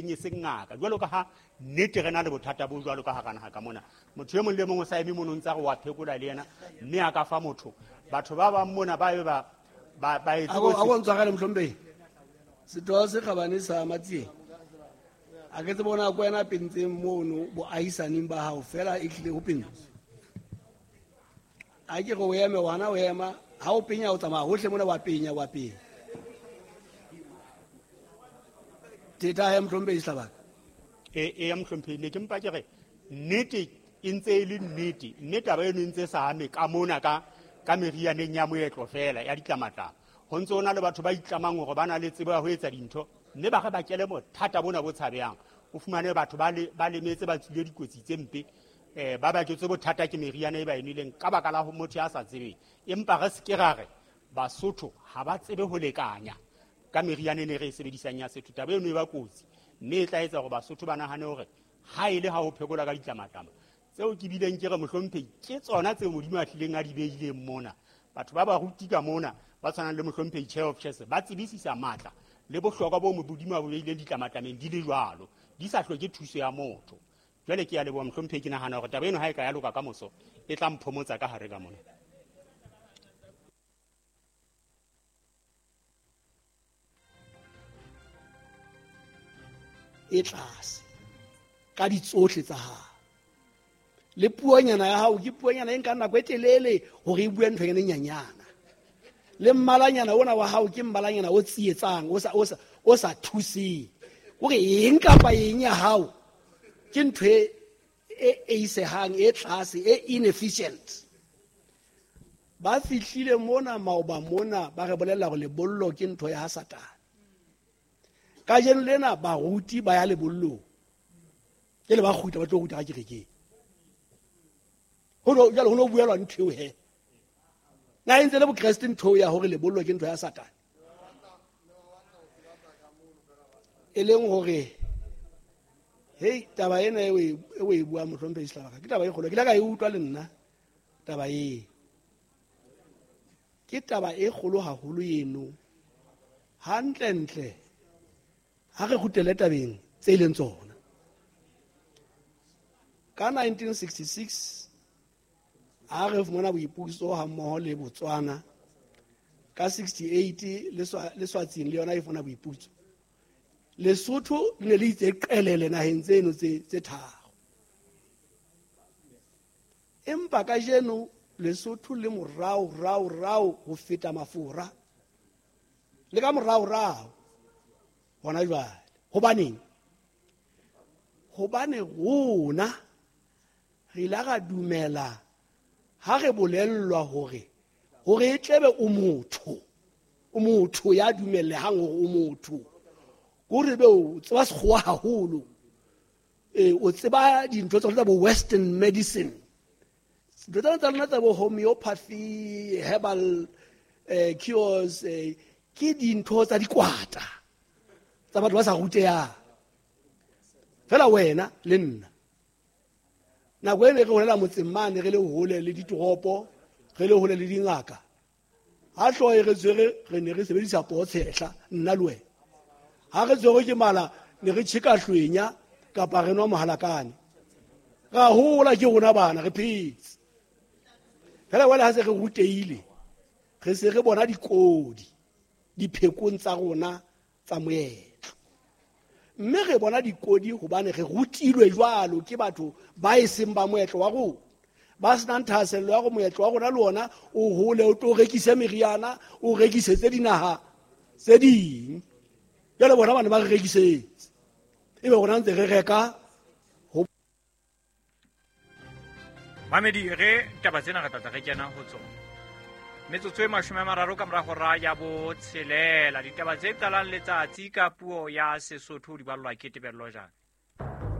teng e seng ngaka. Jwalo ka ha nnete re na le bothata bo jwalo ka hara naha ka mona, motho e mong le mong o sa eme mono ntse a re wa phekola le yena, mme a ka fa motho. Batho ba bang mona ba be ba etse A ko ntshwarele, mohlomphehi. Setho se kgabane sa Matsieng, a ke tsebe bona ko wena pentseng mono boahisaneng ba hao fela e tlile ho pentswe. A ke re o eme wana o ema, ha o penya o tsamaya hohle mona wa penya wa penya. Teta he, mohlomphehi Sehlabaka. E ya, mohlomphehi, ne ke mpa ke re nnete e ntse e le nnete, mme taba eno e ntse e sa ame ka mona ka merianeng ya moetlo fela ya ditlamatlama. Ho ntse ho na le batho ba itlamang hore ba na le tsebo ya ho etsa dintho, mme ba re bakele bothata bona bo tshabehang. O fumane batho ba lemetse, ba tswile dikotsi tse mpe, ba baketswe bothata ke meriana e ba e nweleng ka baka la ho motho ya sa tsebeng. Empa re se ke ra re Basotho ha ba tsebe ho lekanya ka meriana e ne re e sebedisang ya setho. Taba eno e ba kotsi, mme e tla etsa hore Basotho ba nahane hore ha e le ha ho phekola ka ditlamatlama tseo ke bileng ke re, mohlomphehi, ke tsona tseo Modimo a hlileng a di behileng mona. Batho ba baruti ka mona ba tshwanang le mohlomphehi Chair of Chess ba tsebisisa matla le bohlokwa bo Modimo a bo behileng ditlamatlameng di le jwalo, di sa hloke thuso ya motho. Jwale ke a leboha, mohlomphehi. Ke nahana hore taba eno ha e ka ya loka ka moso e tla mphomotsa ka hare ka mona. E tlase ka ditsohle tsa hao le puonyana ya hao, ke puonyana e nkang nako e telele hore e bue nthonyana e nyanyana, le mmalanyana ona wa hao ke mmalanyana o tsietsang, o sa thuseng kore eng kapa eng ya hao ke ntho e eisehang, e tlase, e inefficient. Ba fihlile mona maoba mona ba re bolella hore lebollo ke ntho ya ha Satane. Kajeno lena baruti ba ya lebollong, ke le ba kgutla ba tlo ruta ka kerekeng. Jwale ho no buelwa ntho eo he na e ntse le bokreste, ntho eo ya hore lebollo ke ntho ya Satane, e leng hore hei, taba ena e o e buang, mohlomphehi Sehlabaka, ke taba e kgolo. Ke ile ka e utlwa le nna taba e, ke taba e kgolo haholo eno. Hantlentle ha re kgutlele tabeng tse e leng tsona. Ka 1966 ha re fumana boipuso ha mmoho le Botswana, ka 68 le Swatsing le yona e fumana boipuso, Lesotho le ne le itse qelele naheng tseno tse tharo. Empa kajeno Lesotho le morao rao rao ho feta Mafora le ka morao rao hona jwale. Hobaneng? Hobane rona re ile ra dumela ha re bolellwa hore e tlebe o motho, o motho ya dumellehang hore o motho, kore be o tseba sekgowa haholo, o tseba dintho tsa bo western medicine, dintho tsena tsa lona tsa bo homeopathy, herbal cures, ke dintho tsa dikwata tsa batho ba sa rutehang fela. Wena le nna nako e ne re holela motseng mane, re le hole le ditoropo, re le hole le dingaka, ha hlooho e re tshwere re ne re sebedisa pootshehla. Nna le wena ha re tshwerwe ke mala ne re tjheka hlwenya kapa re nwa mohalakane, ra hola ke rona bana re phetse fela. Jwale ha se re rutehile, re se re bona dikodi diphekong tsa rona tsa moetlo, mme re bona dikodi hobane re rutilwe jwalo ke batho ba e seng ba moetlo wa rona, ba senang thahasello ya gore moetlo wa rona le ona o hole, o tlo rekise meriana, o rekisetse dinaha tse ding. Jwale bona bane ba re rekisetse, ebe rona ntse re reka. Mamedi, re taba tsena re tlatla re kena ho tsona metsotso e 30 ka mora hora ya 6. Ditaba tse qalang letsatsi ka puo ya Sesotho di ballwa ke Tebello Jane.